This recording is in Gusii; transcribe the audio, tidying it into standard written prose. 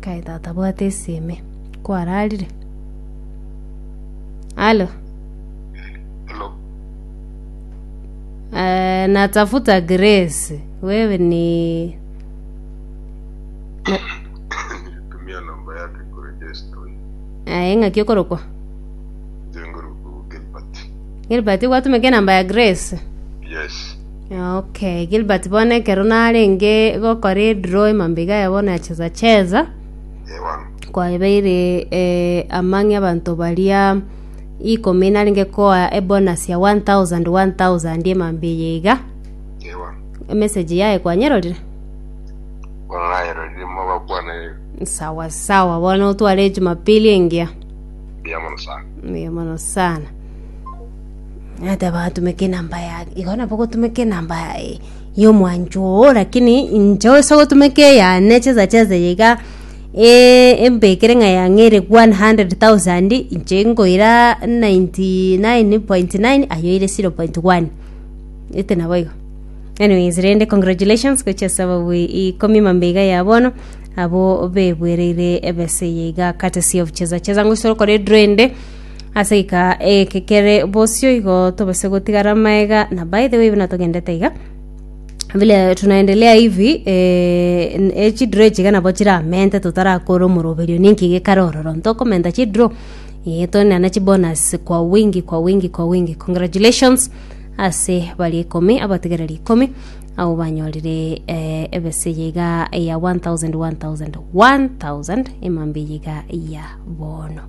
Kai tata bwate esime. Kwararire? Halo. Hello. Eh, natafuta Grace. Wewe ni na, Nilitumia namba yake kuregister. eh, ng'aki okorokwa? Jengo Gilbert. Gilbert gwatumeka enamba ya Grace? Yes. Okay, Gilbert bono ekero narenge gokora edraw emambia iga ya bono ya cheza cheza Ewan. kwabeire eh, among abanto baria ikomi narenge koa ebonus ya 1000 1000 emambia eye iga Ewan. emessage yaye kwanyerorire Bono nayerorire mobakwana sawa sawa bono otware ejumapili engiya mbuya mono sana. Mbuya mono sana. Nateba atumeke enamba ya igo nabo ogotumeka enamba ya omwanchwa oo lakini inche ase ogotumeka eyane cheza cheza eye iga embekere ng'a yang'eire 100,000 inche nkoira 99.9 aye oire 0.1 ete nabo igo. Anyways rende congratulations gochia ase ababui ikomi mambia iga ya bono abwo bebwereire ebesa eye iga courtesy of cheza cheza ngochia tokore edraw ende. Ase gika eke kere bosio igo tobase gotigara amaega na by the way buna togendete iga vile tunaendelea hivi eh, n- eh, chidraw echi iga nabo chiramente totarakora omoroberio ninki gekare ororo ntokomenta chidraw eh, toenane chibonus kwa wingi kwa wingi kwa wingi congratulations ase baria ikomi abatigereri ikomi abwo banyorire eh, ebesa eye iga ya 1000 1000 1000 emambia eye iga ya bono.